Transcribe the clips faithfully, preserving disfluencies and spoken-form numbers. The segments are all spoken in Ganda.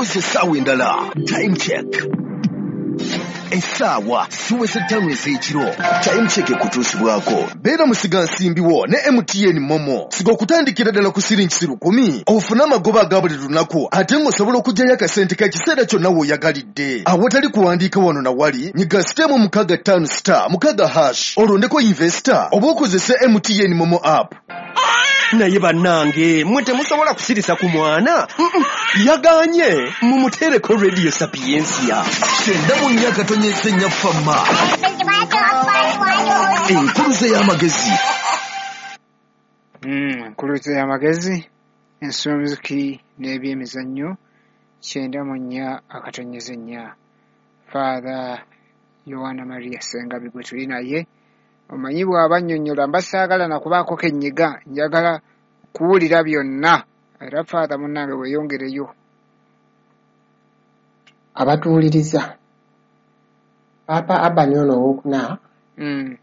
Sozi essaawa endala. Time check. Essaawa ziweze ttaano ez'ekiro. Time check ekutuusibwako. Beera musigansimbi wo ne M T N Momo. Siga okutandikira ddala ku siringi lukumi. Ofune amagoba aga buli lunaku ate ng'osobola okuggyayo akasente k'ekiseera kyonna w'oyagalidde. Awatali kuwandiika wano na wali, nyiga sitemu mukaaga ttaano star mukaaga hash olondeko investor oba okozese M T N Momo app. Naye bannange mmwe temusobola kusirisa ku mwana. Yaganye mumuteereko Radio Sapientia. Kyenda mu nnya katonyeze nnya fama. Enkuluze y'amagezi. Enkuluze y'amagezi, ensonzi n'ebyemizannyo kyenda mu nnya akatonyeze nnya. Father Yohana Maria Ssengabi gwe tuli naye. Omanyi bw'aba annyonnyola mba saagala na kubaako ke nnyiga, njagala kuwulira byonna. Era Father munnange weeyongereyo. Abatuwuliriza, Paapa Urban ono owookuna mm.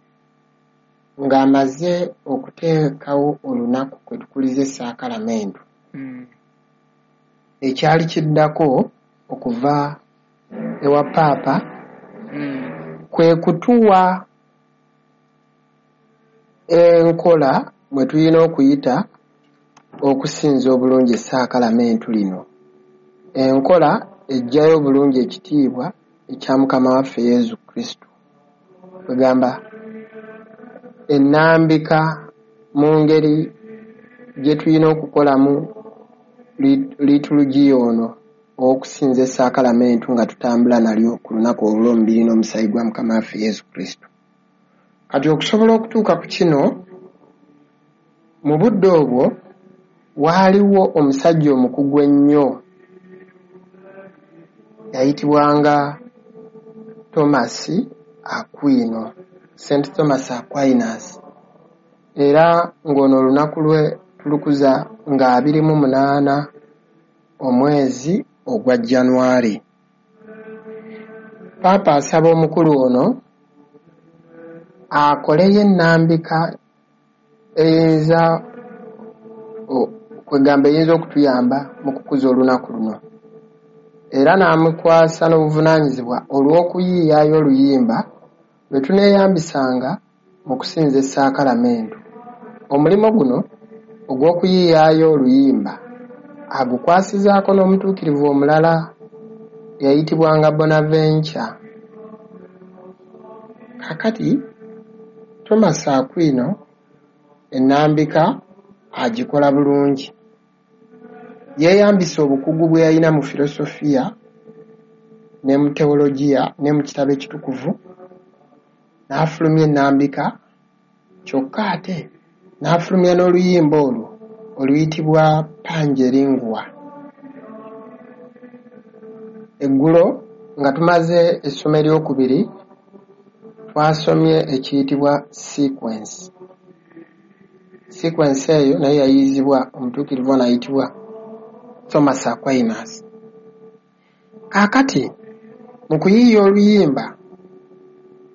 ng'amaze okuteekawo olunaku kwe tukuliza essaakalamentu mm. ekyali kiddako okuva ewa Paapa mm. kwe kutuwa enkola mwe tulina okuyita okusinza obulungi essaakalamentu lino, enkola eggyayo obulungi ekitiibwa ekya Mukama waffe Yesu Kristo. Kwegamba ennambika mu ngeri gye tulina okukolamu liitulugiya ono ow'okusinza essaakalamentu nga tutambula nalyo ku lunaku olw'omubiri n'omusaayi gwa Mukama waffe Yesu Kristo. Kati okusobola okutuuka ku kino, mu budde obwo waaliwo omusajja omukugu ennyo yayitibwanga Thomas Aquino, Saint Thomas Aquinas, era ng'ono olunaku lwe tulukuza nga abiri mu munaana omwezi ogwa January. Paapa asaba omukulu ono akoleyo ennambika eyinza kwegamba eyinza okutuyamba mu kukuza olunaku luno, era n'amukwasa n'obuvunaanyizibwa olw'okuyiiyaayo oluyimba lwe tuneeyambisanga mu kusinza essaakalamentu. Omulimu guno ogw'okuyiiyaayo oluyimba agukwasizaako n'omutuukirivu omulala eyayitibwanga Bonaventure. Kaakati Thomas Aquino ennambika agikola bulungi. Yeeyambisa obukugu bwe yalina mu filosofiya ne mu teologiya ne mu kitabo ekitukuvu n'afulumya ennambika, kyokka ate n'afulumya n'oluyimba olwo oluyitibwa Pange Lingua. Eggulo nga tumaze essomo eryokubiri twasomye ekiyitibwa sequence. Sequence eyo nayo yayiyizibwa omutuukirivu ono ayitibwa Thomas Aquinas. Kaakati mu kuyiiya oluyimba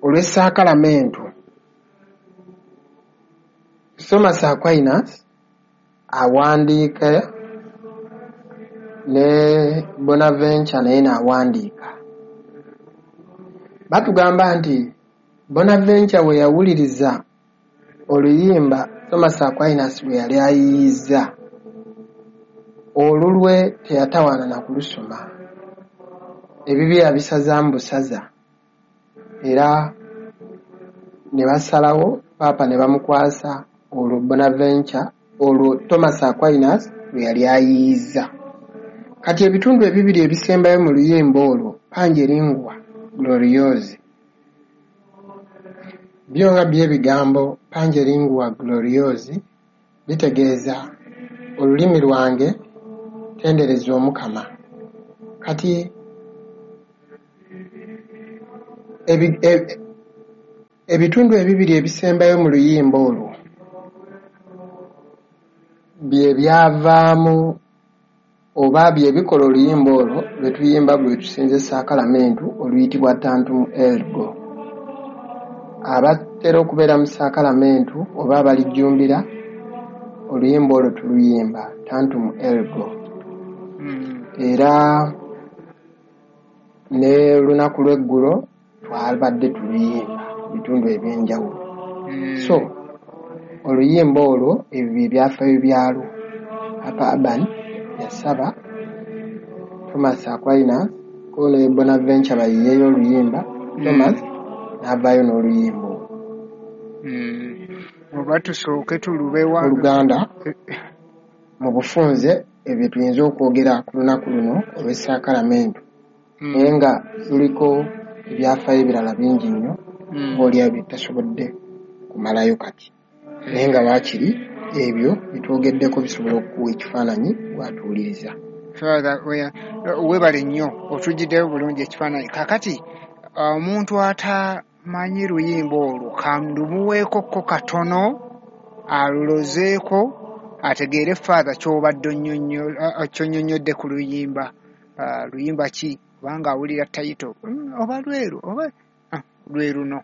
olw'essaakalamentu, Thomas Aquinas awandiika ne Bonaventure naye n'awandiika. Batugamba nti Bonaventure we yawuliriza oluyimba Thomas Aquinas lwe yali ayiiyizza, olulwe teyatawaana na kulusoma, ebibye yabisazaamu busaza, era ne basalawo Paapa ne bamukwasa olwo Bonaventure olwo Thomas Aquinas lwe yali ayiiyizza. Kati ebitundu ebibiri ebisembayo mu luyimba olwo, Pange Lingua Gloriosi, byo nga by'ebigambo Pange Lingua Gloriosi bitegeeza olulimi lwange tendereza Omukama. Kati ebitundu ebibiri ebisembayo mu luyimba olwo bye byavaamu oba bye bikola oluyimba olwo lwe tuyimba lwe tusinza essaakalamentu oluyitibwa Tantum Ergo. Abatera okubeera mu saakalamentu oba abalijjumbira oluyimba olwo tuluyimba Tantum Ergo. Era Ne lunaku lw'eggulo twabadde tuluyimba mu bitundu eby'enjawulo. Mm. So oluyimba olwo, ebyo bye byafaayo byalwo. Papa Urban yasaba Thomas Aquinas ko ne Bonaventure bayiyeeyo oluyimba, Thomas n'avaayo n'oluyimba olwo. Mm. Oba tusooke tulubewa. Oluganda, mu bufunze ebyo tuyinza okwogera ku lunaku luno olw'essaakalamentu, Mm. naye nga luliko ebyafaayo ebirala bingi nnyo, Mm. oba bye tutasobodde kumalayo kati, naye nga waakiri ebyo byetwogeddeko bisobola okukuwa ekifaananyi bw'atuwuliriza. Father, we- weebale nnyo, otugiddeyo bulungi ekifaananyi. Kakati omuntu atamanyi luyimba olwo, kalumuweekokko katono alulozeeko ategeere Father ky'obadde onnyonnyo- a- ky'onnyonnyodde ku luyimba. Ah, luyimba ki? Kubanga awulira title, Mm, oba lweru oba ah, lwe luno.